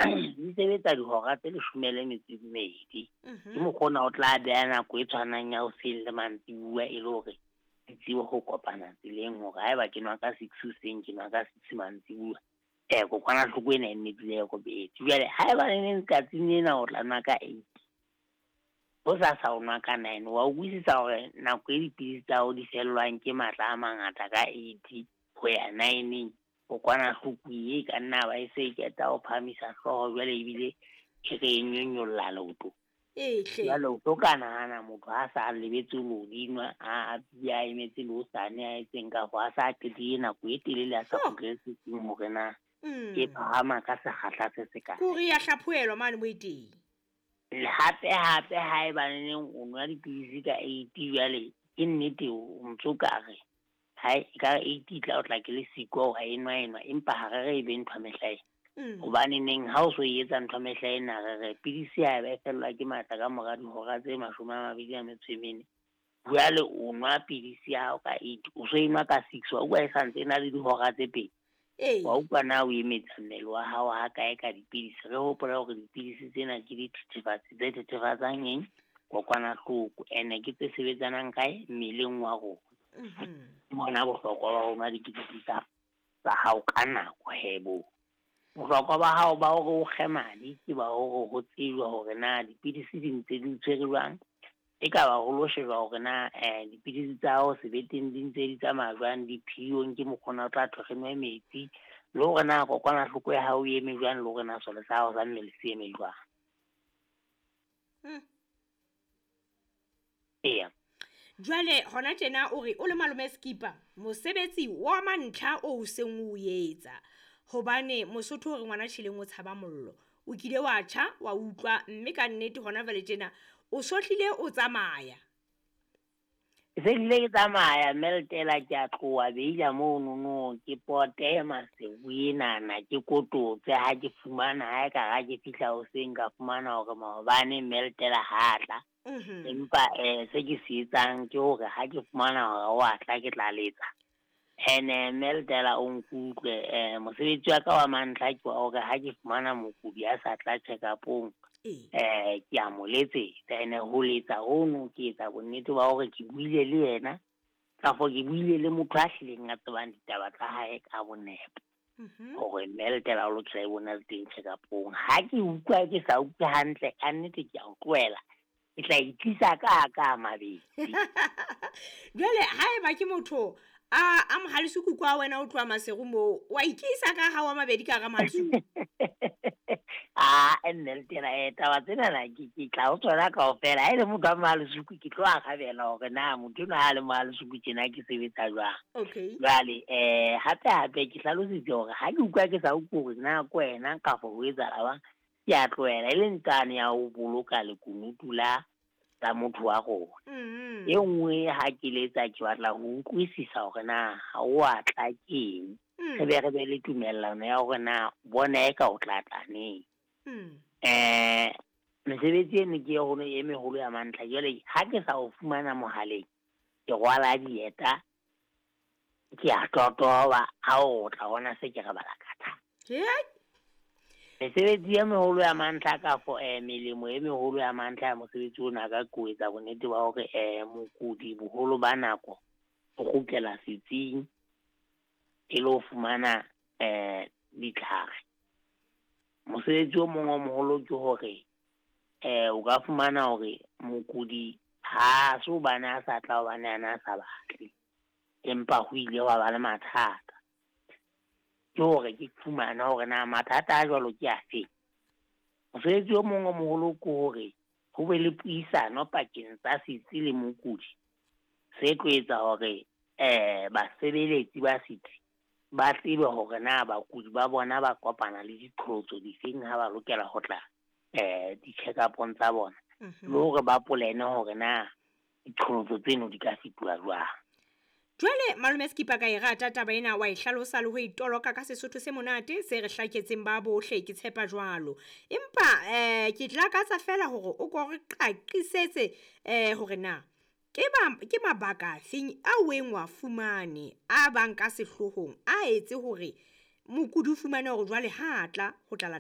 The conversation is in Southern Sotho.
Di sebetsa dihora tse 12. Ke mokgwa ona o tla beha nako e tshwanang ya hoseng le mantsibuya e le hore di tsebe ho kopana tseleng hore haeba ke nwa ka 6 hoseng, ke nwa ka 6 mantsibuya. Kokwanahloko ena e nne dule e robetse. Jwale haeba neneng tsatsing lena o tla nwa ka 8, hosasa o nwa ka 9, wa utlwisisa hore nako e dipidisi tsa hao di fellwang ke matla a mangata ka 8 ho ya 9, kokwanahloko e ka nna ba e se e qeta ho phahamisa hlooho jwale ebile e re e nyonyolla leoto. Jwale o tlo ka nahana motho ha sa lebetse lo di nwa, a a emetse le hosane a etseng kafo, a sa qetile nako e telele a sa kgutlele setsing hore na e phahama ka sekgahla se se kae. Kore ya hlaphohelwa mane mo e teng. Hape hape haeba neneng o nwa dipidisi ka 8 jwale ke nnete o ntso ka re ha e ka 8 e tla o tla ke le siko ha e nwa enwa, empa ha re re e be ntho ya mehla ena. Hobane neng ha o so e etsa ntho ya mehla ena, re re pidisi ha e ba e fellwa ke matla ka mora dihora tse 24, jwale o nwa pidisi ya hao ka 8, o so e nwa ka 6, wa utlwa e santse e na le dihora tse 2. Wa utlwa na o emetsa mmele wa hao ha kae ka dipidisi. Re hopola hore dipidisi tsena ke dithethefatsi tse thethefatsang eng, kokwanahloko, ene ke tse sebetsanang kae mmeleng wa rona. Bona bohlokwa ba ho nwa dipidisi tsa hao ka nako hebo. Bohlokwa ba hao ba hore o kge madi ke ba hore ho tsejwa hore na dipidisi di ntse di tshwere jwang. E ka ba ho lo shejwa hore na dipidisi tsa hao sebeteng di ntse di tsamaya jwang, diphiyong ke mokgona o tla thwe re nwe metsi, le hore na kokwanahloko ya hao e eme jwang, le hore na sole sa hao sa mmele se eme jwang. Eya. Jwale hona tjena o re o le malome Skipper, mosebetsi wa mantlha o seng o etsa, hobane Mosotho o re ngwana tjheleng o tshaba mollo. O kile wa tjha wa utlwa, mme ka nnete hona jwale tjena o sohlile o tsamaya. Se hlile ke tsamaya Meltela, ke a tloha beila mono no, ke pote Maseru enana, ke kototse ha ke fumana, ha e ka ha ke fihla hoseng ka fumana hore maobane Meltela ha tla. Empa se ke se etsang ke hore ha ke fumana hore wa tla ke tla letsa. Ene Meltela o nkutlwe, mosebetsi wa ka wa mantlha ke wa hore ha ke fumana mokudi a sa tla check-upong, ke a mo letsetsa. Ene ho letsa hono ke etsa bonnete ba hore ke buile le yena, kafo ke buile le motho a hlileng a tsebang ditaba tsa hae ka bonepo, hore Meltela o lokela e bona le teng check-upong. Ha ke utlwa ke sa utlwe hantle, ka nnete ke a o tlohela, ke tla itlisa ka mabedi. Jwale haeba ke motho a Mohalesuku kwa wena o tloha Maseru moo, wa ikisa ka ha wa mabedi ka hara Mohalesuku? Ah, Meltela, taba tsena ke tla o tsona kaofela. Ha e le motho wa Mohalesuku ke tlo arabela hore na motho enwa ha le Mohalesuku tjena ke sebetsa jwang. Jwale hape hape ke hlalositse hore ha ke utlwa ke sa utlwe hore na ke wena kafo ho etsahala jwang, ke a tlohela, e le ntsane ya ho boloka lekunutu la tsa motho wa rona. E nngwe ha ke letsa ke batla ho utlwisisa hore na ha o a tla keng, re be re be le tumellano ya hore na bona e ka o tla tla neng. Mesebetsi eno ke e e meholo ya mantlha. Jwale ha ke sa o fumana mohaleng, ke rwala dieta, ke a totoba, ha o tla bona se ke re bala ka thata. Mesebetsi e meholo ya mantlha kafo melemo e meholo ya mantlha ya mosebetsi ona ka ko etsa bonnete ba hore mokudi boholo ba nako o kgutlela setsing e le ho fumana ditlhare. Mosebetsi o mong o moholo ke hore o ka fumana hore mokudi ha se hobane a sa tla, hobane ana a sa batle, empa ho ile hwa ba le mathata. Ke hore ke fumana hore na mathata a jwalo ke afe. Mosebetsi o mong o moholo ke hore ho be le puisano pakeng tsa setsi le mokudi, se tlo etsa hore basebeletsi ba setsi ba tsebe hore na bakudi ba bona ba kopana le diqholotso difeng ha ba lokela ho tla di-check-upong tsa bona, le hore ba polene hore na diqholotso tseno di ka fetoha jwang. Jwale malome Skipper ka e rata taba ena, wa e hlalosa le ho e toloka ka Sesotho se monate se re hlaketseng ba bohle, ke tshepa jwalo. Empa ke lakatsa fela hore o ko re qaqisetse hore na ke mabaka afeng a weng wa fumane a bang ka sehlohong a etse hore mokudi o fumane hore jwale ha tla ho tla